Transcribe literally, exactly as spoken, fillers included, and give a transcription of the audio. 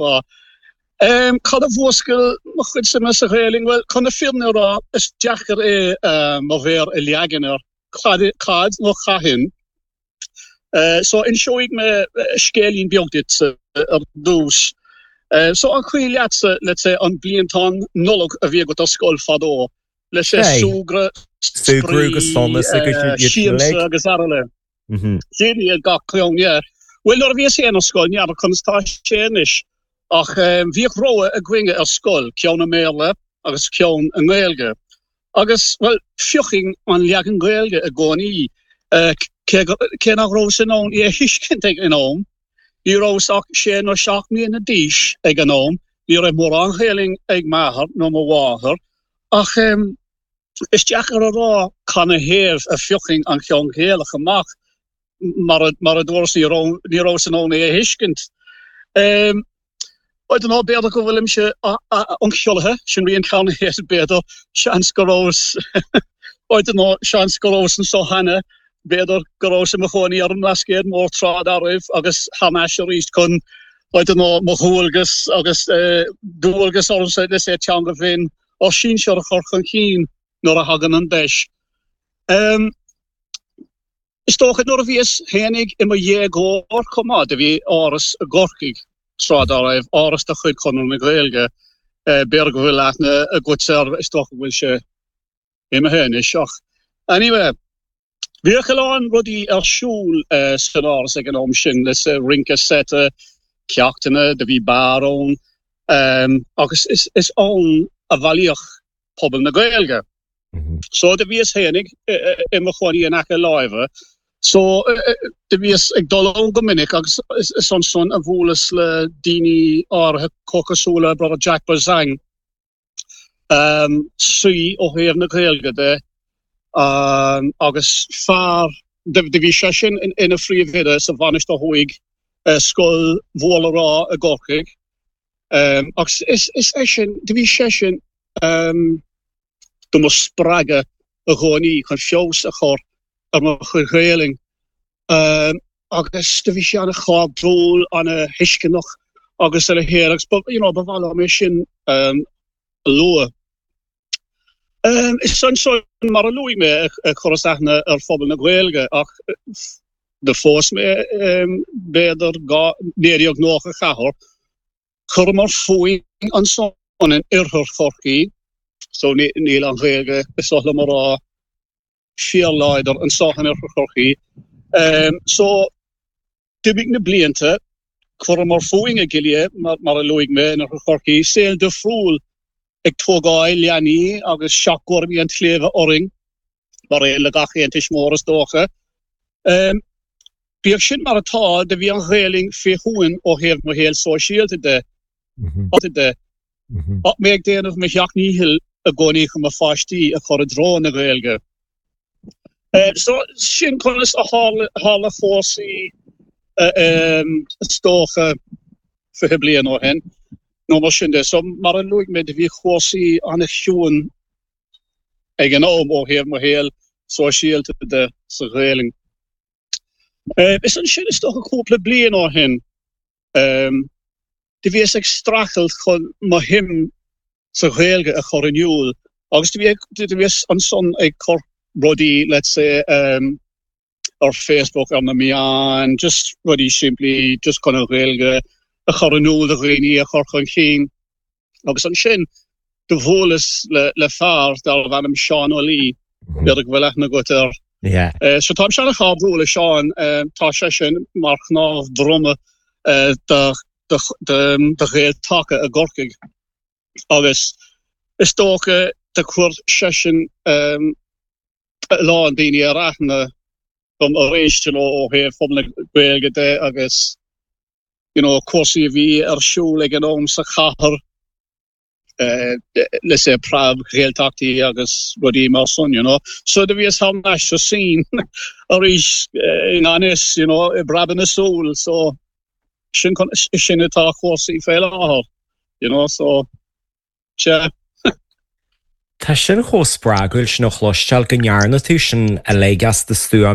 déarfá. Cad a mhúscail mo chuid suime sa Ghaelainn? Bhuel, chun na fírinne a rá, is deacair é mo mhéar a leagan air cad, cad nó cathain. So inseoidh mé scéilín beag duit ar dtús. So an cuimhin leatsa, let's say, an bliantán Nollag a bhí agat ar scoil fadó, let's say súgradh, Súgradh go sona siamsa agus araile. Sin iad gach ceann, yeah. Bhuel, nuair a bhíos féin ar scoil, n'fheadar conas tá sé anois, ach bhíodh rogha againne ar scoil, ceann i mBéarla agus ceann i nGaeilge. Agus, bhuel, phiocfainn an leagan Gaeilge i gcónaí, cé cé nach rabhas in ann é a thuiscint ag an am. Ní rabhas ach sé nó seacht mbliana d'aois ag an am, ní raibh mórán Gaelainn ag m'athair nó mo mháthair, ach is deacair a rá canathaobh a phiocfainn an ceann Gaelach amach, mar a mar a dúras ní raibh ní rabhas in ann é a thuiscint. I don't know, b'fhéidir go bhfuilimse ionchollaithe, sin rian ceann b'fhéidir, seans go rabhas I don't know, seans go rabhas anseo cheana, b'fhéidir go rabhas i mo chónaí ar an mBlascaod Mór tráth dá raibh agus thar n-ais arís chun I don't know, mo dhualgas agus dualgas ormsa let's say teanga bhinn ár sinsear a chur chun cinn nuair a thagann an deis. Um, Is dócha nuair a bhíos féinig i mo dhéagóir chomh maith, do bhí áras i gCorcaigh tráth dá raibh, áras de chuid Chonradh na Gaeilge, b'fhéidir go bhfuil aithne agat air, is dócha go bhfuil sé imithe anois ach anyway, bhíodh a lán rudaí ar siúl san áras ag an am sin, let's say rince seite, ceachtanna, do bhí beár ann agus is ann a bhailíodh pobal na Gaeilge. So do bhíos féinig i mo chónaí in aice láimhe, so do bhíos ag dul ann go minic agus is ansan a bhuaileas le daoine áirithe cosúil le Brother Jack Bozang, um, saoi ó thaobh na Gaeilge de, um, agus fear do bhí sé sin ina phríomhoide sa Mhainistir Thuaidh, scoil Mhór le rá i gCorcaigh. Um, agus is, is é sin, do bhí sé sin um, do mo spreagadh i gcónaí chun feabhas a chur ar mo chuid Ghaelainn. Um, agus do bhí sé an-chairdiúil, an-thuisceanach agus a leithéid agus ba, you know, ba mhaith liom é sin um, a lua. Um, is ansan mar a luaigh mé a chuireas aithne ar phobal na Gaeilge ach do phós mé um, b'fhéidir naoi déag nócha ceathair, chuireamar fúinn ansan in oirthear Chorcaí, so níl an Ghaeilge is oth liom a rá fíorláidir anseo in oirthear Chorcaí. Um, so d'imigh na blianta, chuireamar fúinn i gCill mar, mar a luaigh mé in oirthear Chorcaí, saol difriúil ag tógáil leanaí agus seachchúraimí an tsléibhe orainn, mar aon le gach aon tuismitheoir is dócha. Um, bíodh sin mar atá, do bhí an Ghaelainn fé shuan ó thaobh mo shaol sóisialta de. de. Ach mé ag déanamh mo sheacht ndícheall i gcónaí chun mo pháistí a chur i dtreo na Gaeilge. Uh, so sin conas a tharla cúrsaí um, is dócha fiche bliain ó shin. nó mar sin de. So mar a luaigh mé do bhí cúrsaí an-chiúin ag an am ó thaobh mo shaol sóisialta de sa Ghaelainn. Uh, is ansin is dócha cúpla bliain ó shin um, do bhíos ag streachailt chun mo shuim sa Ghaeilge a chur in iúl agus do bhíos ansan ag cur rudaí let's say um, ar Facebook ar na meáin, just rudaí simplí just chun an Ghaeilge a chur in iúl do dhaoine a chur chun cinn. Agus ansin do bhuaileas le, le fear darbh ainm Seán Ó Laoi, b'fhéidir go bhfuil aithne agat air. Yeah. Uh, so táim an-chairdiúil le Seán uh, tá sé sin mar chnámh droma uh, do, do, do, do Ghael-Taca i gCorcaigh. Agus is dócha do chuir seisean um, a lán daoine ar aithne dom arís you know, ó thaobh phobal na Gaeilge de agus you know, cúrsaí a bhí ar siúl ag an am sa chathair uh, let's say preab Ghaeltachtaí agus rudaí mar sin, you know. So do bhíos thar n-ais sa scene arís uh, in anis, you know, i bpreabadh na súl, so sin sin atá cúrsaí fé láthair, you know, so yeah. Tá sin chomh spreagúil sin a chloisteáil go ndearna tú sin uilig as do stuaim